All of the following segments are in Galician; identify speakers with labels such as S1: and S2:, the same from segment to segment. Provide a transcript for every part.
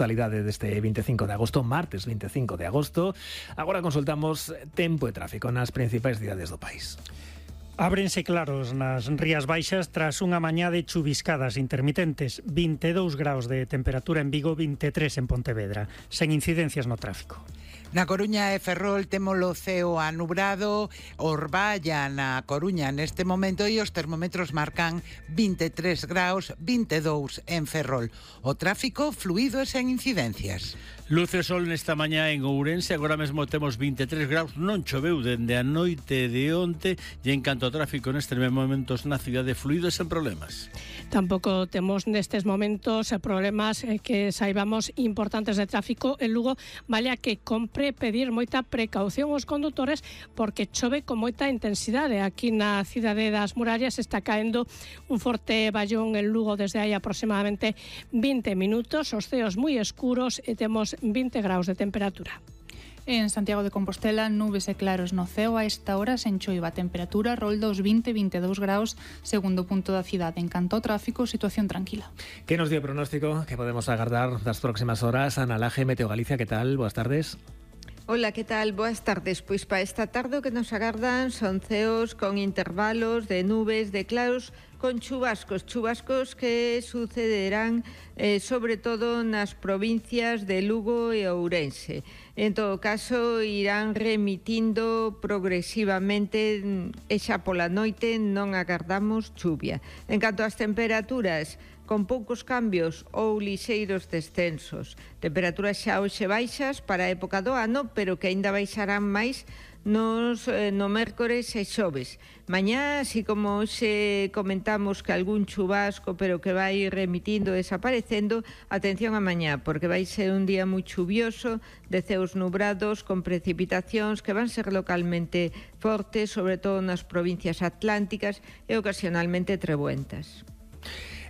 S1: actualidade deste 25 de agosto, martes 25 de agosto. Agora consultamos tempo e tráfico nas principais cidades do país.
S2: Ábrense claros nas Rías Baixas tras unha mañá de chuviscadas intermitentes. 22 graus de temperatura en Vigo, 23 en Pontevedra, sen incidencias no tráfico.
S3: Na Coruña e Ferrol témolo ceo anubrado, Orballa na Coruña neste momento e os termómetros marcan 23 graus, 22 en Ferrol. O tráfico fluido e sen incidencias.
S4: Luce sol nesta mañá en Ourense, agora mesmo temos 23 graus, non choveu dende a noite de onte e en canto ao tráfico nestes momentos na cidade fluido e sen problemas.
S5: Tampouco temos nestes momentos problemas que saibamos importantes de tráfico en Lugo, vale a que compre pedir moita precaución aos condutores porque chove con moita intensidade. Aquí na cidade das Murallas está caendo un forte ballón en Lugo desde hai aproximadamente 20 minutos, os ceos moi escuros e temos 20 graus de temperatura.
S6: En Santiago de Compostela, nubes e claros no ceo a esta hora sen choiva. A temperatura rolda os 20-22 graus, segundo punto da cidade. En canto ao tráfico, situación tranquila.
S1: Que nos dio o pronóstico que podemos agardar das próximas horas? Ana Laje, Meteo Galicia, que tal? Boas tardes.
S7: Hola, que tal? Boas tardes. Pois para esta tarde o que nos agardan son ceos con intervalos de nubes, de claros, con chubascos que sucederán sobre todo nas provincias de Lugo e Ourense. En todo caso, irán remitindo progresivamente e xa pola noite non agardamos chuvia. En canto ás temperaturas, con poucos cambios ou lixeiros descensos. Temperaturas xa hoxe baixas para a época do ano, pero que aínda baixarán máis no mércores e xoves. Mañá, así como hoxe comentamos que algún chubasco, pero que vai remitindo, desaparecendo, atención a mañá, porque vai ser un día moi chuvioso, de ceos nubrados, con precipitacións que van ser localmente fortes, sobre todo nas provincias atlánticas e ocasionalmente trebuentas.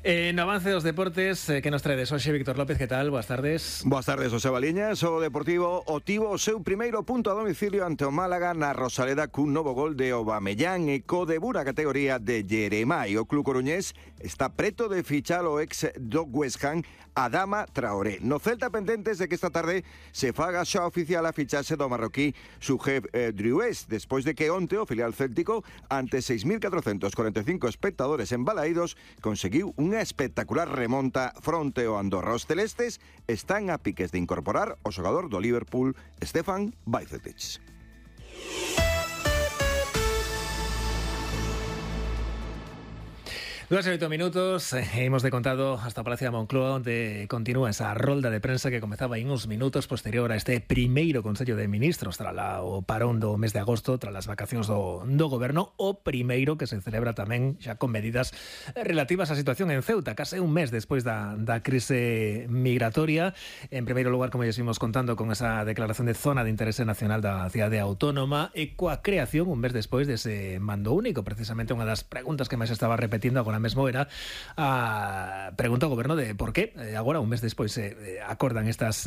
S1: No avance dos deportes, que nos traedes hoxe, Víctor López, que tal? Boas tardes.
S8: Boas tardes, José Baliñas. O Deportivo obtivo o seu primeiro punto a domicilio ante o Málaga na Rosaleda cun novo gol de Aubameyang e co debut na categoría de Jeremai. O club coruñés está preto de fichar o ex do West Ham, Adama Traoré. No Celta pendentes de que esta tarde se faga xa oficial a fichaxe do marroquí Soujeb Driouez, despois de que onte o filial céltico, ante 6.445 espectadores embalaídos, conseguiu unha espectacular remonta fronte ao Andorra. Os celestes están a piques de incorporar o xogador do Liverpool, Stefan Bajcetic.
S1: 2 minutos, hemos de contado hasta o Palacio da Moncloa, onde continúa esa rolda de prensa que comezaba en uns minutos posterior a este primeiro Consello de Ministros tras o parón do mes de agosto, tras as vacacións do goberno, o primeiro que se celebra tamén xa con medidas relativas á situación en Ceuta, case un mes despois da crise migratoria. En primeiro lugar, como ya seguimos contando, con esa declaración de zona de interese nacional da cidade autónoma e coa creación un mes despois dese mando único. Precisamente unha das preguntas que máis estaba repetindo agora mesmo era a pregunta ao goberno de por qué agora un mes despois acordan estas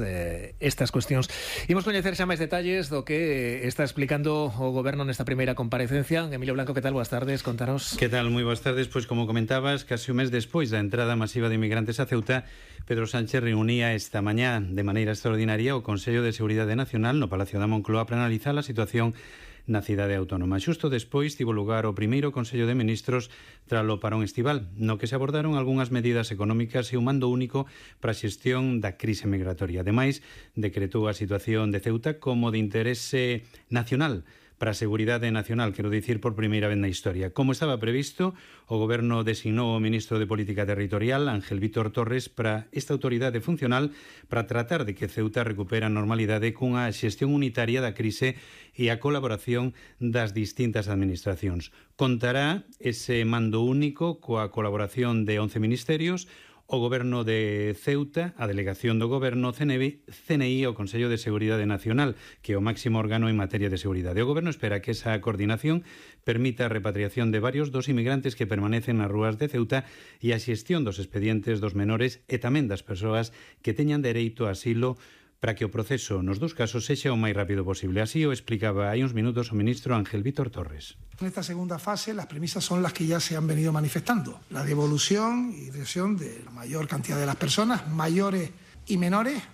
S1: cuestións. Imos coñecer xa máis detalles do que está explicando o goberno nesta primeira comparecencia. Emilio Blanco, que tal? Boas tardes, contanos.
S9: Que tal? Moi boas tardes. Pois como comentabas, case un mes despois da entrada masiva de inmigrantes a Ceuta, Pedro Sánchez reunía esta mañá de maneira extraordinaria o Consello de Seguridade Nacional no Palacio da Moncloa para analizar a situación na cidade autónoma. Xusto despois tivo lugar o primeiro Consello de Ministros tralo parón estival, no que se abordaron algunhas medidas económicas e un mando único para a xestión da crise migratoria. Ademais, decretou a situación de Ceuta como de interese nacional para a seguridade nacional, quero dicir, por primeira vez na historia. Como estaba previsto, o Goberno designou o Ministro de Política Territorial, Ángel Vítor Torres, para esta autoridade funcional para tratar de que Ceuta recupere a normalidade cunha xestión unitaria da crise e a colaboración das distintas administracións. Contará ese mando único coa colaboración de 11 ministerios, o Goberno de Ceuta, a Delegación do Goberno, CNI e o Consello de Seguridade Nacional, que é o máximo órgano en materia de seguridade. O Goberno espera que esa coordinación permita a repatriación de varios dos inmigrantes que permanecen nas rúas de Ceuta e a xestión dos expedientes dos menores e tamén das persoas que teñan dereito a asilo para que o proceso nos dos casos sexa o máis rápido posible. Así o explicaba hai uns minutos o ministro Ángel Vítor Torres.
S10: En esta segunda fase las premisas son las que ya se han venido manifestando. La devolución y regresión de la mayor cantidad de las personas, mayores y menores,